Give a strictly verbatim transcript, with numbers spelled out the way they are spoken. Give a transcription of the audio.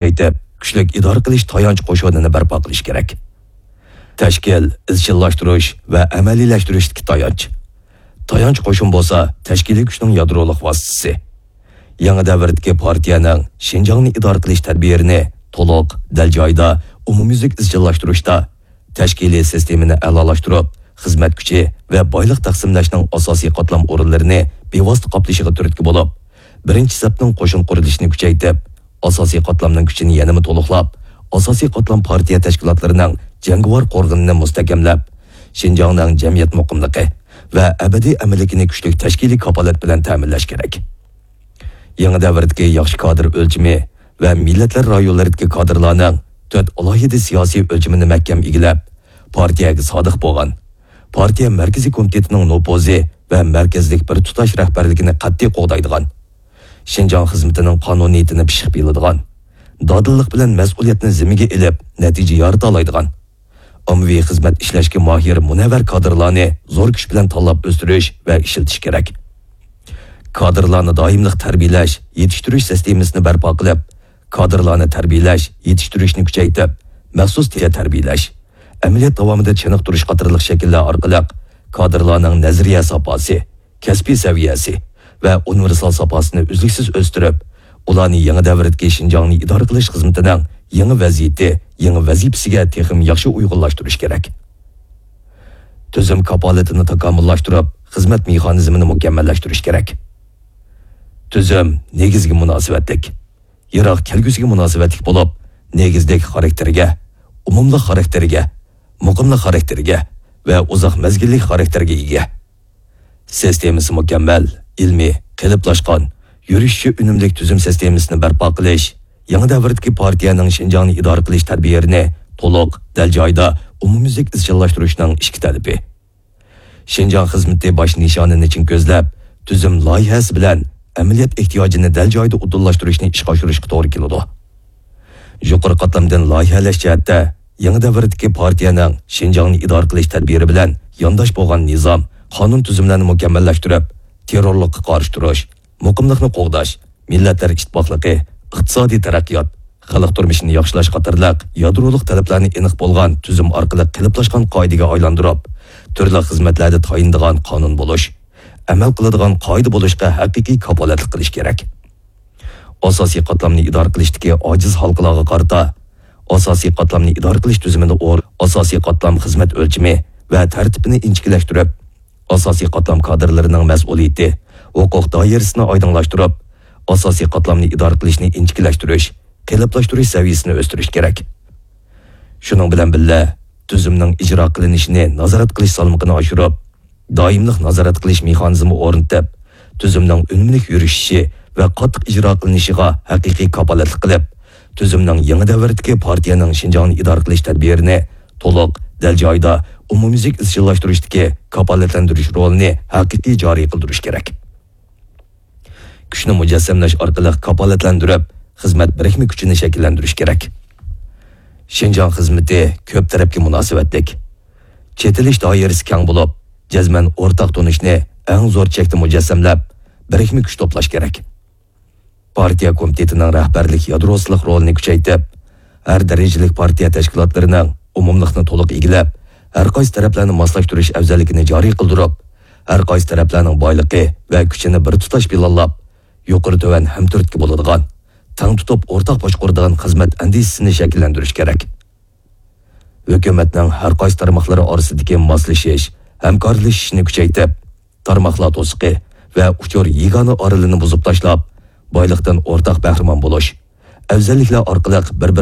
كۈچەيتىپ، كۈچلۈك ئىدارە قىلىش تايانچ قوشۇنىنى بەرپا قىلىش كېرەك. تەشكىل، ئىزچىللاشتۇرۇش ۋە ئەمەلىيلەشتۈرۈشتىكى تايانچ. تايانچ قوشۇن بولسا تەشكىلىي كۈچنىڭ يادرولۇق ۋاسىتىسى. يېڭى دەۋردىكى پارتىيەنىڭ شىنجاڭنى ئىدارە قىلىش تەدبىرىنى تولۇق، دەل جايىدا، ئومۇميۈزلۈك ئىزچىللاشتۇرۇشتا، تەشكىلىي سىستېمىنى ئەلالاشتۇرۇپ، خىزمەت كۈچى ۋە بايلىق تەقسىملەشنىڭ ئاساسىي قاتلام ئورۇنلىرىنى بىۋاسىتە قاپلىشىغا تۈرتكە بولۇپ، بىرىنچى سەپنىڭ قوشۇن قۇرۇلۇشىنى كۈچەيتىپ، ئاساسىي قاتلامنىڭ كۈچىنى يەنىمۇ تولۇقلاپ، ئاساسىي قاتلام پارتىيە تەشكىلاتلىرىنىڭ جەڭگىۋار قورغىنىنى مۇستەھكەملەپ، شىنجاڭنىڭ جەمئىيەت مۇقىملىقى ۋە ئەبەدىي ئەمىنلىكىنى كۈچلۈك تەشكىلىي كاپالەت بىلەن تەمىنلەش كېرەك. يېڭى دەۋردىكى ياخشى كادىر ئۆلچىمى ۋە مىللەتلەر رايونلىرىدىكى كادىرلارنىڭ تۆت ئالاھىدە سىياسىي ئۆلچىمىنى مەھكەم ئىگىلەپ، پارتىيەگە سادىق بولغان، پارتىيە مەركىزىي كومىتېتىنىڭ نوپۇزى ۋە مەركەزلىك بىر تۇتاش رەھبەرلىكىنى قەتئىي قوغدايدىغان، شىنجاڭ خىزمىتىنىڭ قانۇنىيىتىنى پىششىق بىلىدىغان، دادىللىق بىلەن مەسئۇلىيەتنى زىممىگە ئېلىپ، نەتىجە يارىتالايدىغان، ئاممىۋى خىزمەت ئىشلەشكە ماھىر مۇنەۋۋەر كادىرلارنى زور كۈچ بىلەن تاللاپ ئۆستۈرۈش ۋە ئىشلىتىش كېرەك. كادىرلارنى دائىملىق تەربىيەلەش، يېتىشتۈرۈش سىستېمىسىنى بەرپا قىلىپ، كادىرلارنى تەربىيەلەش، يېتىشتۈرۈشنى كۈچەيتىپ، مەخسۇس تەربىيەلەش، ئەمەلىيەت داۋامىدا چېنىقتۇرۇش قاتارلىق شەكىللەر ئارقىلىق كادىرلارنىڭ نەزەرىيە ساپاسى، كەسپىي سەۋىيەسى ۋە ئۇنىۋېرسال ساپاسىنى ئۈزلۈكسىز ئۆستۈرۈپ، ئۇلارنى يېڭى دەۋردىكى شىنجاڭنى ئىدارە قىلىش خىزمىتىنىڭ يېڭى ۋەزىيىتى، يېڭى ۋەزىپىسىگە تېخىمۇ ياخشى ئۇيغۇنلاشتۇرۇش كېرەك. تۈزۈم كاپالىتىنى تاكامۇللاشتۇرۇپ، خىزمەت مېخانىزمىنى مۇكەممەللەشتۈرۈش كېرەك. تۈزۈم نېگىزگە مۇناسىۋەتلىك، يىراق كەلگۈسىگە مۇناسىۋەتلىك بولۇپ، نېگىزلىك خاراكتېرىگە، ئومۇملۇق خاراكتېرىگە، مۇقىملىق خاراكتېرىگە ۋە ئۇزاق مەزگىللىك خاراكتېرگە ئىگە. سىستېمىسى مۇكەممەل، ئىلمىي، قېلىپلاشقان، يۈرۈشۈشى ئۈنۈملۈك تۈزۈم سىستېمىسىنى بەرپا قىلىش، يېڭى دەۋردىكى پارتىيەنىڭ شىنجاڭنى ئىدارە قىلىش تەدبىرىنى تولۇق، دەل جايىدا، ئومۇميۈزلۈك ئىزچىللاشتۇرۇشنىڭ ئىككى تەلىپى. شىنجاڭ خىزمىتى باش نىشانىنى چىڭ كۆزلەپ، تۈزۈم لايىھەسى بىلەن ئەمەلىيەت ئېھتىياجىنى دەل جايىدا ئۇدۇللاشتۇرۇشنى ئىشقا ئاشۇرۇشقا توغرا كېلىدۇ. يۇقىرى قاتلامدىن لايىھەلەش جەھەتتە، يېڭى دەۋردىكى پارتىيەنىڭ شىنجاڭنى ئىدارە قىلىش تەدبىرى بىلەن يانداش بولغان نىزام، قانۇن تۈزۈملەرنى مۇكەممەللەشتۈرۈپ، تېررورلۇققا قارشى تۇرۇش، مۇقىملىقنى قوغداش، مىللەتلەر ئىتتىپاقلىقى، ئىقتىسادىي تەرەققىيات، خەلق تۇرمۇشىنى ياخشىلاش قاتارلىق يادرولۇق تەلەپلەرنى ئېنىق بولغان تۈزۈم ئارقىلىق قېلىپلاشقان قائىدىگە ئايلاندۇرۇپ، تۈرلۈك خىزمەتلەردە تايىنىدىغان قانۇن بولۇش، ئەمەل قىلىدىغان قائىدە بولۇشقا ھەقىقىي كاپالەتلىك قىلىش كېرەك. ئاساسىي قاتلامنى ئىدارە قىلىشتىكى ئاجىز ھالقىلارغا قارىتا، ئاساسىي قاتلامنى ئىدارە قىلىش تۈزۈمىنى ئور-، ئاساسىي قاتلام خىزمەت ئۆلچىمى ۋە تەرتىپىنى ئىنچىكىلەشتۈرۈپ، ئاساسىي قاتلام كادىرلىرىنىڭ مەسئۇلىيىتى، ھوقۇق دائىرىسىنى ئايدىڭلاشتۇرۇپ، ئاساسىي قاتلامنى ئىدارە قىلىشنى ئىنچىكىلەشتۈرۈش، قېلىپلاشتۇرۇش سەۋىيەسىنى ئۆستۈرۈش كېرەك. شۇنىڭ بىلەن بىللە، تۈزۈمنىڭ ئىجرا قىلىنىشىنى نازارەت قىلىش سالمىقىنى ئاشۇرۇپ، دائىملىق نازارەت قىلىش مېخانىزمى ئورنىتىپ، تۈزۈمنىڭ ئۈنۈملۈك يۈرۈشۈشى ۋە قاتتىق ئىجرا قىلىنىشىغا ھەقىقىي كاپالەتلىك قىلىپ، تۈزۈمنىڭ يېڭى دەۋردىكى پارتىيەنىڭ شىنجاڭنى ئىدارە قىلىش تەدبىرىنى تولۇق، دەل جايىدا، ئومۇميۈزلۈك ئىزچىللاشتۇرۇشتىكى كاپالەتلەندۈرۈش رولىنى ھەقىقىي جارى قىلدۇرۇش كېرەك. كۈچنى مۇجەسسەملەش ئارقىلىق كاپالەتلەندۈرۈپ، خىزمەت بىرىكمە كۈچىنى شەكىللەندۈرۈش كېرەك. شىنجاڭ خىزمىتى كۆپ تەرەپكە مۇناسىۋەتلىك. چېتىلىش دائىرىسى كەڭ بولۇپ، جەزمەن ئورتاق تونۇشنى ئەڭ زور چەكتە مۇجەسسەملەپ، بىرىكمە كۈچ توپلاش كېرەك. پارتىيە كومىتېتىنىڭ رەھبەرلىك يادروسىلىق رولىنى كۈچەيتىپ، ھەر دەرىجىلىك پارتىيە تەشكىلاتلىرىنىڭ ئومۇملۇقنى تولۇق ئىگىلەپ، ھەر قايسى تەرەپلەرنى ماسلاشتۇرۇش ئەۋزەللىكىنى جارى قىلدۇرۇپ، ھەر قايسى تەرەپلەرنىڭ بايلىقى ۋە كۈچىنى بىر تۇتاش پىلانلاپ، يۇقىرى تۆۋەن ھەمتۈرتكە بولىدىغان، تەڭ تۇتۇپ ئورتاق باشقۇرىدىغان خىزمەت ئەندىزىسىنى شەكىللەندۈرۈش كېرەك. ھۆكۈمەتنىڭ ھەر قايسى تارماقلىرى ئارىسىدىكى ماسلىشىش، ھەمكارلىشىشنى كۈچەيتىپ، تارماقلار توسۇقى ۋە ئۇچۇر يېگانە ئارىلىنى بۇزۇپ تاشلاپ، بايلىقتىن ئورتاق بەھرىمەن بولۇش، ئەۋزەللىكلەر ئارقىلىق بىر-بىرىنى